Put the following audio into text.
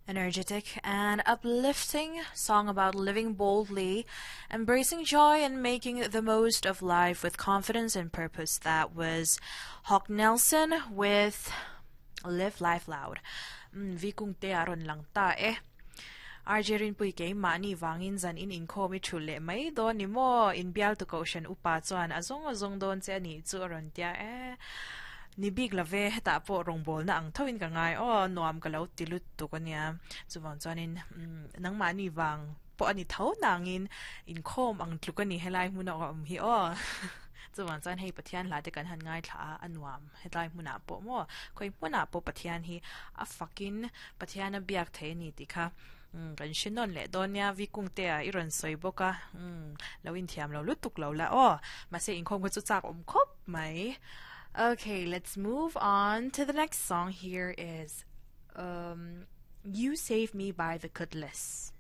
Energetic and uplifting song about living boldly, embracing joy and making the most of life with confidence and purpose. That was Hawk Nelson with Live Life Loud. Mm, vi kung te aron lang ta eh. RJ Rinpui kei mahni vangin zan in inkhawm i thulh leh mai dawn ni maw? In bialtu kohhran upa chuan a zawng a zawng dawn che a nih chu a rawn tia e. Ni bik lo ve, hetah pawh rawngbawlna ang thoin ka ngai aw, nuam ka lo ti lut tuk a nia. Chuvang chuanin nangmahni vang pawh a ni tho nangin inkhawm ang tluk a ni helai hmuna awm hi aw. Chuvang chuan hei Pathian hla te kan han ngaithla a, a nuam hetlai hmunah pawh maw? Khawi hmunah pawh Pathian hi a fakin Pathian a biak thei a ni tih kha kan hre nawn leh dawn nia Vikung te ah i rawn sawi bawk a lo inthiam lo lutuk lo la aw mahse inkhawm kha chu chak awm khawp mai Okay let's move on to the next song here is um You Save Me by The Cutlass.